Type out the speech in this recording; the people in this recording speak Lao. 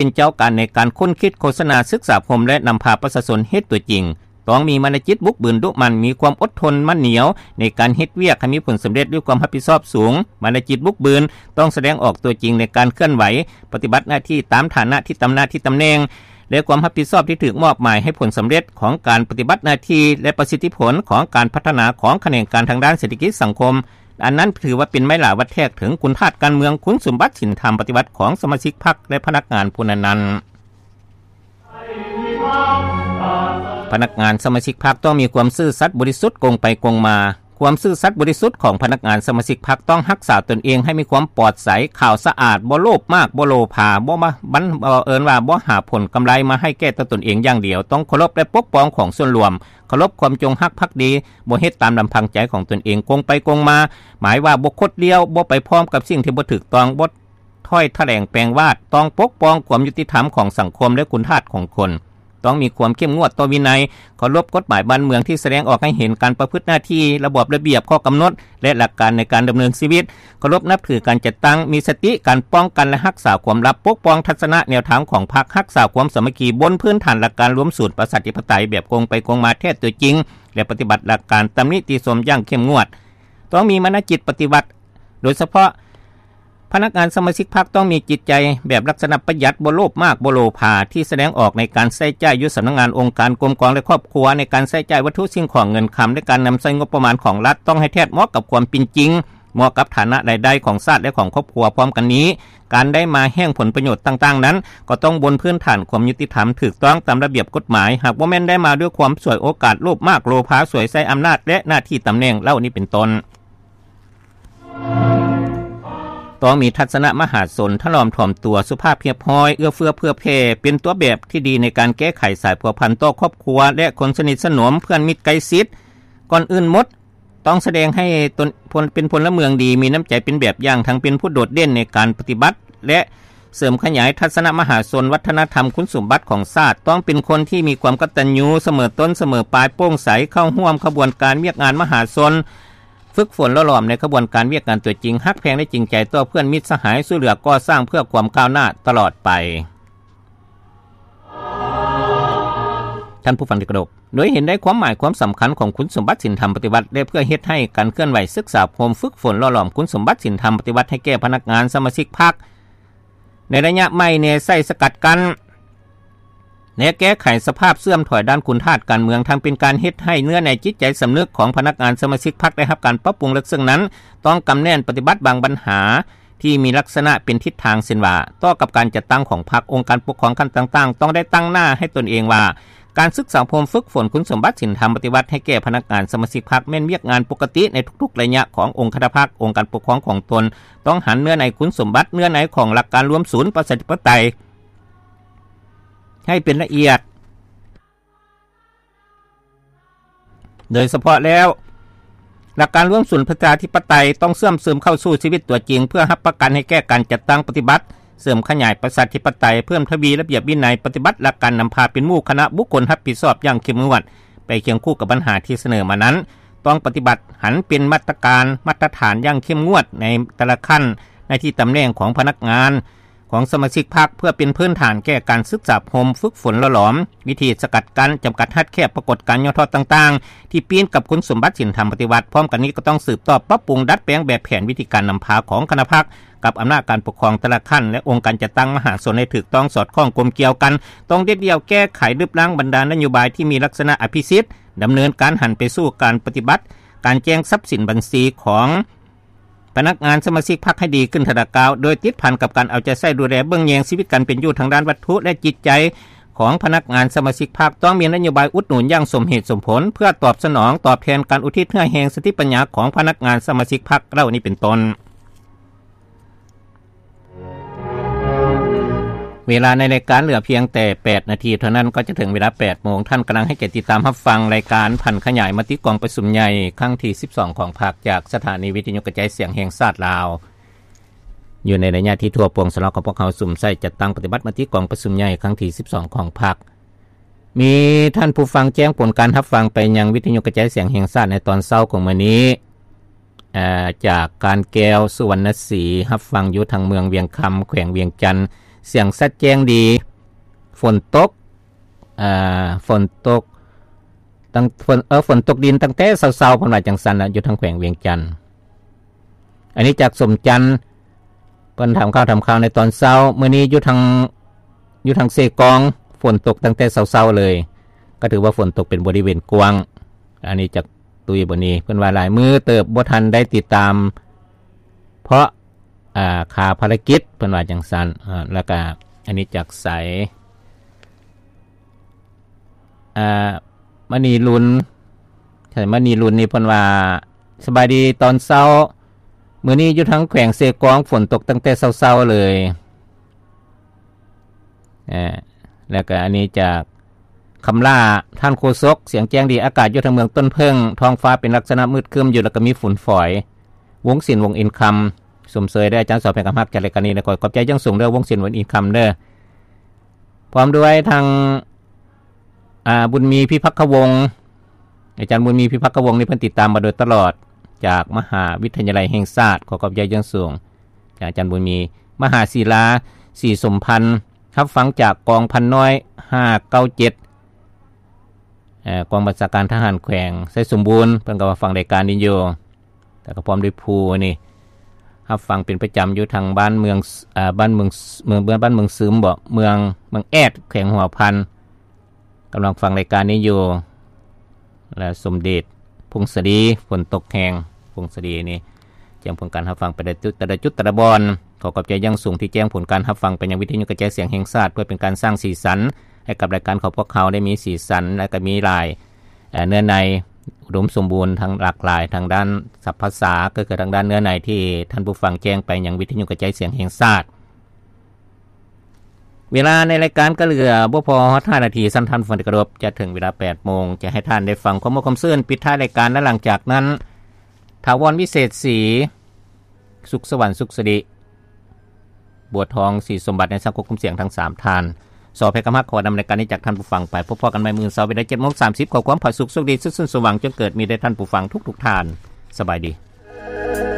ປັນເຈົ້າການໃນການຄົ້ນຄິດ, ໂຄສະນາ, ສຶກສາອົບຮົມ ແລະ ນຳພາປະຊາຊົນເຮັດຕົວຈິງ. ຕ້ອງມີມານະຈິດບຸກບືນ, ດຸໝັ່ນ, ມີຄວາມອົດທົນ, ໝັ້ນໜຽວໃນການເຮັດວຽກໃຫ້ມີຜົນສຳເລັດດ້ວຍຄວາມຮັບຜິດຊອບສູງ. ມານະຈິດບຸກບືນຕ້ອງສະແດງອອກຕົວຈິງໃນການເຄື່ອນໄຫວ, ປະຕິບັດໜ້າທີ່ຕາມຖານະທີ່ຕຳໜ້າທີ່ຕຳແໜ່ງ ແລະ ຄວາມຮັບຜິດຊອບທີ່ຖືກມອບໝາຍໃຫ້ຜົນສຳເລັດຂອງການປະຕິບັດໜ້າທີ່ ແລະ ປະສິດທິຜົນຂອງການພັດທະນາຂອງຂະແໜງການທາງດ້ານເສດຖະກິດສັງຄົມ. ອັນນັ້ນຖືວ່າເປັນໄມ້ຫຼາວັດແທກເຖິງຄຸນທາດການເມືອງ, ຄຸນສົມບັດສິນທຳປະຕິວັດຂອງສະມາຊິກພັກ ແລະ ພະນັກງານຜູ້ນັ້ນໆ. ພະນັກງານສະມາຊິກພັກຕ້ອງມີຄວາມຊື່ສັດບໍລິສຸດ, ກົງໄປກົງມາ. ຄວາມຊື່ສັດບໍລິສຸດຂອງພະນັກງານສະມາຊິກພັກຕ້ອງຮັກສາຕົນເອງໃຫ້ມີຄວາມປອດໃສ, ຂາວສະອາດ, ບໍ່ໂລບມາກ, ບໍ່ໂລພາ, ບໍ່ມາ ບັນ ເອີ້ນວ່າບໍ່ຫາຜົນກຳໄລມາໃຫ້ແກ່ຕົວຕົນເອງຢ່າງດຽວ, ຕ້ອງເຄົາລົບ ແລະ ປົກປ້ອງຂອງສ່ວນລວມ, ເຄົາລົບຄວາມຈົງຮັກພັກດີ, ບໍ່ເຮັດຕາມລຳພັງໃຈຂອງຕົນເອງ, ກົງໄປກົງມາ, ໝາຍວ່າບໍ່ຄົດລ້ຽວ, ບໍ່ໄປພ້ອມກັບສິ່ງທີ່ບໍ່ຖືກຕ້ອງ, ບໍ່ ຖ້ອຍຖະແຫຼງແປງວາດ, ຕ້ອງປົກປ້ອງຄວາມຍຸຕິທຳຂອງສັງຄົມ ແລະ ຄຸນທາດຂອງຄົນ, ຕ້ອງມີຄວາມເຂັ້ມງວດຕໍ່ວິໄນ, ເຄົາລົບກົດໝາຍບ້ານເມືອງທີ່ສະແດງອອກໃຫ້ເຫັນການປະພຶດໜ້າທີ່, ລະບອບລະບຽບ, ຂໍ້ກຳນົດ ແລະ ຫຼັກການໃນການດຳເນີນຊີວິດ, ເຄົາລົບນັບຖືການຈັດຕັ້ງ, ມີສະຕິການປ້ອງກັນ ແລະ ຮັກສາຄວາມລັບ, ປົກປ້ອງທັດສະນະແນວທາງຂອງພັກ, ຮັກສາຄວາມສາມັກຄີບົນພື້ນຖານຫຼັກການລວມສູນປະຊາທິປະໄຕແບບກົງໄປກົງມາແທ້ຕົວຈິງ ແລະ ປະຕິບັດຫຼັກການຕຳນິຕິຊົມຢ່າງເຂັ້ມງວດ. ຕ້ອງມີມານະຈິດປະຕິວັດ, ໂດຍສະເພາະ ພະນັກງານສະມາຊິກພັກຕ້ອງມີຈິດໃຈແບບລັກສະນະປະຢັດ, ບໍ່ໂລບມາກ, ບໍ່ໂລພາ, ທີ່ສະແດງອອກໃນການໃຊ້ຈ່າຍຢູ່ສຳນັກງານ, ອົງການ, ກົມກອງ ແລະ ຄອບຄົວ, ໃນການໃຊ້ຈ່າຍວັດຖຸສິ່ງຂອງເງິນຄຳ ແລະ ການນຳໃຊ້ງົບປະມານຂອງລັດ ຕ້ອງໃຫ້ແທດເໝາະກັບຄວາມເປັນຈິງ, ເໝາະກັບຖານະລາຍໄດ້ຂອງຊາດ ແລະ ຂອງຄອບຄົວ. ພ້ອມກັນນີ້, ການໄດ້ມາແຫ່ງຜົນປະໂຫຍດຕ່າງໆນັ້ນ ກໍຕ້ອງບົນພື້ນຖານຄວາມຍຸຕິທຳ, ຖືກຕ້ອງຕາມລະບຽບກົດໝາຍ, ຫາກບໍ່ແມ່ນໄດ້ມາດ້ວຍຄວາມສວຍໂອກາດ, ໂລບມາກ, ໂລພາ, ສວຍໃຊ້ອຳນາດ ແລະ ໜ້າທີ່ຕຳແໜ່ງເຫຼົ່ານີ້ເປັນຕົ້ນ. ຕ້ອງມີທັດສະນະມະຫາຊົນ, ຖະຫຼອມຖ່ອມຕົວ, ສຸພາບຮຽບຮ້ອຍ, ເອື້ອເຟື້ອເຜື່ອແຜ່, ເປັນຕົວແບບທີ່ດີໃນການແກ້ໄຂສາຍພົວພັນຕໍ່ຄອບຄົວ ແລະ ຄົນສະໜິດສະໜົມ, ເພື່ອນມິດໃກ້ຊິດ. ກ່ອນອື່ນໝົດ, ຕ້ອງສະແດງໃຫ້ຕົນ ພົນ ເປັນພົນລະເມືອງດີ, ມີນ້ຳໃຈເປັນແບບຢ່າງ, ທັງເປັນຜູ້ໂດດເດັ່ນໃນການປະຕິບັດ ແລະ ເສີມຂະຫຍາຍທັດສະນະມະຫາຊົນ, ວັດທະນະທຳ, ຄຸນສົມບັດຂອງຊາດ. ຕ້ອງເປັນຄົນທີ່ມີຄວາມກະຕັນຍູ, ສະເໝີຕົ້ນ, ສະເໝີປາຍ, ໂປ່ງໃສ, ເຂົ້າຮ່ວມຂະບວນການວຽກງານມະຫາຊົນ, ຝຶກຝົນຫຼໍ່ຫຼອມໃນຂະບວນການວຽກງານຕົວຈິງ, ຮັກແພງ ແລະ ຈິງໃຈຕໍ່ເພື່ອນມິດສະຫາຍ, ຊ່ວຍເຫຼືອກໍ່ສ້າງເພື່ອຄວາມກ້າວໜ້າຕະຫຼອດໄປ. ທ່ານຜູ້ຟັງທີ່ເຄົາລົບ, ໂດຍເຫັນໄດ້ຄວາມໝາຍຄວາມສຳຄັນຂອງຄຸນສົມບັດສິນທຳປະຕິວັດ ແລະ ເພື່ອເຮັດໃຫ້ການເຄື່ອນໄຫວສຶກສາອົບຮົມຝຶກຝົນຫຼໍ່ຫຼອມຄຸນສົມບັດສິນທຳປະຕິວັດໃຫ້ແກ່ພະນັກງານສະມາຊິກພັກ ໃນໄລຍະໃໝ່ແນໃສ່ສະກັດກັ້ນ ແລະ ແກ້ໄຂສະພາບເສື່ອມຖອຍດ້ານຄຸນທາດການເມືອງ, ທັງເປັນການເຮັດໃຫ້ເນື້ອໃນຈິດໃຈສຳນຶກຂອງພະນັກງານສະມາຊິກພັກໄດ້ຮັບການປັບປຸງ. ເລິກເຊິ່ງນັ້ນ, ຕ້ອງກຳແໜ້ນປະຕິບັດບາງບັນຫາທີ່ມີລັກສະນະເປັນທິດທາງ, ເຊັ່ນວ່າ, ຕໍ່ກັບການຈັດຕັ້ງຂອງພັກ, ອົງການປົກຄອງຂັ້ນຕ່າງໆ ຕ້ອງໄດ້ຕັ້ງໜ້າໃຫ້ຕົນເອງວ່າ ການສຶກສາອົບຮົມຝຶກຝົນຄຸນສົມບັດສິນທຳປະຕິວັດໃຫ້ແກ່ພະນັກງານສະມາຊິກພັກ ແມ່ນວຽກງານປົກກະຕິໃນທຸກໆໄລຍະຂອງອົງຄະນະພັກ, ອົງການປົກຄອງຂອງຕົນ. ຕ້ອງຫັນເນື້ອໃນຄຸນສົມບັດ, ເນື້ອໃນຂອງຫຼັກການລວມສູນປະຊາທິປະໄຕ ໃຫ້ເປັນລະອຽດ. ໂດຍສະເພາະແລ້ວ, ຫຼັກການລວມສູນປະຊາທິປະໄຕຕ້ອງເຊື່ອມຊຶມເຂົ້າສູ່ຊີວິດຕົວຈິງ ເພື່ອຮັບປະກັນໃຫ້ແກ່ການຈັດຕັ້ງປະຕິບັດ, ເສີມຂະຫຍາຍປະຊາທິປະໄຕ, ເພີ່ມທະວີລະບຽບວິໄນ, ປະຕິບັດຫຼັກການນຳພາເປັນໝູ່ຄະນະບຸກຄົນຮັບຜິດຊອບຢ່າງເຂັ້ມງວດ ໄປຄຽງຄູ່ກັບບັນຫາທີ່ສະເໜີມານັ້ນ. ຕ້ອງປະຕິບັດຫັນເປັນມາດຕະການ, ມາດຕະຖານຢ່າງເຂັ້ມງວດໃນແຕ່ລະຂັ້ນ ໜ້າທີ່ຕຳແໜ່ງຂອງພະນັກງານ ຂອງສະມາຊິກພັກ ເພື່ອເປັນພື້ນຖານແກ່ການສຶກສາອົບຮົມຝຶກຝົນຫຼໍ່ຫຼອມ, ວິທີສະກັດກັ້ນ, ຈຳກັດຮັດແຄບປາກົດການຫຍໍ້ທໍ້ຕ່າງໆ ທີ່ປີ້ນກັບຄຸນສົມບັດສິນທຳປະຕິວັດ. ພ້ອມກັນນີ້ກໍຕ້ອງສືບຕໍ່ປັບປຸງດັດແປງແບບແຜນວິທີການນຳພາຂອງຄະນະພັກ ກັບອຳນາດການປົກຄອງແຕ່ລະຂັ້ນ ແລະ ອົງການຈັດຕັ້ງມະຫາຊົນໃຫ້ຖືກຕ້ອງສອດຄ່ອງກົມກ່ຽວກັນ. ຕ້ອງເດັດດ່ຽວແກ້ໄຂລຶບລ້າງບັນດານະໂຍບາຍທີ່ມີລັກສະນະອະພິສິດ, ດຳເນີນການຫັນໄປສູ່ການປະຕິບັດ, ການແຈ້ງຊັບສິນບັນຊີຂອງ ພະນັກງານສະມາຊິກພັກໃຫ້ດີຂຶ້ນທະລະກ້າວ, ໂດຍຕິດພັນກັບການເອົາໃຈໃສ່ດູແລເບິ່ງແຍງຊີວິດການເປັນຢູ່ທາງດ້ານວັດຖຸ ແລະ ຈິດໃຈຂອງພະນັກງານສະມາຊິກພັກ. ຕ້ອງມີນະໂຍບາຍອຸດໜູນຢ່າງສົມເຫດສົມຜົນ ເພື່ອຕອບສະໜອງຕອບແທນການອຸທິດເຫື່ອແຮງສະຕິປັນຍາຂອງພະນັກງານສະມາຊິກພັກເຫຼົ່ານີ້ເປັນຕົ້ນ. ເວລາໃນລາຍການເຫຼືອພຽງແຕ່ແປດນາທີເທົ່ານັ້ນ ກໍຈະເຖິງເວລາແປດໂມງ. ທ່ານກຳລັງໃຫ້ກຽດຕິດຕາມຮັບຟັງລາຍການຜັນຂະຫຍາຍມະຕິກອງປະຊຸມໃຫຍ່ຄັ້ງທີສິບສອງຂອງພັກ ຈາກສະຖານີວິທະຍຸກະຈາຍສຽງແຫ່ງຊາດລາວ. ຢູ່ໃນໄລຍະທີ່ທົ່ວປວງຊາວລາວຂອງພວກເຮົາສຸມໃສ່ຈັດຕັ້ງປະຕິບັດມະຕິກອງປະຊຸມໃຫຍ່ຄັ້ງທີສິບສອງຂອງພັກ. ມີທ່ານຜູ້ຟັງແຈ້ງຜົນການຮັບຟັງໄປຍັງວິທະຍຸກະຈາຍສຽງແຫ່ງຊາດໃນຕອນເຊົ້າຂອງມື້ນີ້. ເອີ ຈາກການແກ້ວ ສຸວັນນະສີ ຮັບຟັງຢູ່ທາງເມືອງວຽງຄຳ ແຂວງວຽງຈັນ. ສຽງຊັດແຈ້ງດີ. ຝົນຕົກ ເອີ ຝົນຕົກ ຕັ້ງ ຝົນ ເອີ ຝົນຕົກດິນຕັ້ງແຕ່ເຊົ້າໆ ເພິ່ນວ່າຈັ່ງຊັ້ນນະ ຢູ່ທາງແຂວງວຽງຈັນ. ອັນນີ້ຈາກສົມຈັນ ເພິ່ນຖາມຂ່າວ ຖາມຂ່າວໃນຕອນເຊົ້າ. ມື້ນີ້ຢູ່ທາງ ຢູ່ທາງເຊກອງ ຝົນຕົກຕັ້ງແຕ່ເຊົ້າໆເລີຍ ກໍຖືວ່າຝົນຕົກເປັນບໍລິເວນກວ້າງ. ອັນນີ້ຈາກຕຸ້ຍບໍນີ ເພິ່ນວ່າຫຼາຍມື້ເຕີບບໍ່ທັນໄດ້ຕິດຕາມ ເພາະ ອ່າ ຄາພາລະກິດ ເພິ່ນວ່າຈັ່ງຊັ້ນ. ອ່າ ແລ້ວກະອັນນີ້ຈາກໃສ ອ່າ ມະນີລຸນ ໃສ ມະນີລຸນນີ້ເພິ່ນວ່າ ສະບາຍດີຕອນເຊົ້າ ມື້ນີ້ຢູ່ທາງແຂວງເຊກອງ ຝົນຕົກຕັ້ງແຕ່ເຊົ້າໆເລີຍ. ເອີ ແລ້ວກະອັນນີ້ຈາກຄຳຫຼ້າ ທ່ານໂຄສົກ ສຽງແຈ້ງດີ ອາກາດຢູ່ທາງເມືອງຕົ້ນເຜິ້ງ ທ້ອງຟ້າເປັນລັກສະນະມືດຄຶ້ມຢູ່ ແລ້ວກະມີຝຸ່ນຝອຍ. ວົງສິນ ວົງອິນຄຳ ຊົມເຊີຍເດີອາຈານສອບໃຫ້ກຳຮັກຈາກລາຍການນີ້ນະ ຂໍຂອບໃຈຢ່າງສູງເດີ ວົງສິນ ວົງອິນຄຳເດີ. ພ້ອມດ້ວຍທາງ ອ່າ ບຸນມີ ພິພັກຄະວົງ ອາຈານບຸນມີ ພິພັກຄະວົງນີ້ເພິ່ນຕິດຕາມມາໂດຍຕະຫຼອດ ຈາກມະຫາວິທະຍາໄລແຫ່ງຊາດ ຂໍຂອບໃຈຢ່າງສູງຈາກອາຈານບຸນມີ. ມະຫາສີລາ ສີສົມພັນ ຮັບຟັງຈາກກອງພັນນ້ອຍ ຫ້າເກົ້າເຈັດ ເອີ ກອງບັນຊາການທະຫານແຂວງໄຊສົມບູນ ເພິ່ນກໍວ່າຟັງລາຍການນີ້ຢູ່ ແລ້ວກໍພ້ອມດ້ວຍຜູ້ນີ້ ຮັບຟັງເປັນປະຈຳຢູ່ທາງບ້ານເມືອງ ເອີ ບ້ານເມືອງ ເມືອງ ບ້ານເມືອງຊຶມບໍ ເມືອງ ເມືອງແອດ ແຂວງຫົວພັນ ກຳລັງຟັງລາຍການນີ້ຢູ່. ແລະ ສົມເດັດ ພົງສະດີ ຝົນຕົກແຮງ ພົງສະດີນີ້ ແຈ້ງຜົນການຮັບຟັງໄປແຕ່ລະຈຸດ ແຕ່ລະຈຸດ ແຕ່ລະບ່ອນ. ຂໍຂອບໃຈຢ່າງສູງທີ່ແຈ້ງຜົນການຮັບຟັງໄປຍັງວິທະຍຸກະຈາຍສຽງແຫ່ງຊາດ ເພື່ອເປັນການສ້າງສີສັນໃຫ້ກັບລາຍການຂອງພວກເຮົາໄດ້ມີສີສັນ ແລະ ກໍມີຫຼາຍ ເອີ ເນື້ອໃນອຸດົມສົມບູນ ທັງຫຼາກຫຼາຍທາງດ້ານສັບພາສາ ກໍຄືທາງດ້ານເນື້ອໃນທີ່ທ່ານຜູ້ຟັງແຈ້ງໄປຍັງວິທະຍຸກະຈາຍສຽງແຫ່ງຊາດ. ເວລາໃນລາຍການກໍເຫຼືອບໍ່ພໍຮອດຫ້ານາທີ ຊັ້ນທ່ານຜູ້ຟັງທີ່ເຄົາລົບ ຈະເຖິງເວລາແປດໂມງ ຈະໃຫ້ທ່ານໄດ້ຟັງຄວາມມ່ວນຄວາມຊື່ນປິດທ້າຍລາຍການ ແລະ ຫຼັງຈາກນັ້ນ ຖາວອນ ວິເສດສີ ສຸກສະຫວັນ ສຸກສະລິ ບົວທອງ ສີສົມບັດ ໃນສັງຄົມຄວາມສຽງທັງສາມທ່ານ. ສອບໃຫ້ກຳຮັກ ຂໍນຳລາຍການນີ້ຈາກທ່ານຜູ້ຟັງໄປ. ພົບພໍ້ກັນໃໝ່ມື້ເສົາເວລາເຈັດໂມງສາມສິບ. ຂໍຄວາມຜາສຸກໂຊກດີ ຊື່ນສວ່າງ ຈົ່ງເກີດມີແດ່ທ່ານຜູ້ຟັງທຸກໆທ່ານ. ສະບາຍດີ.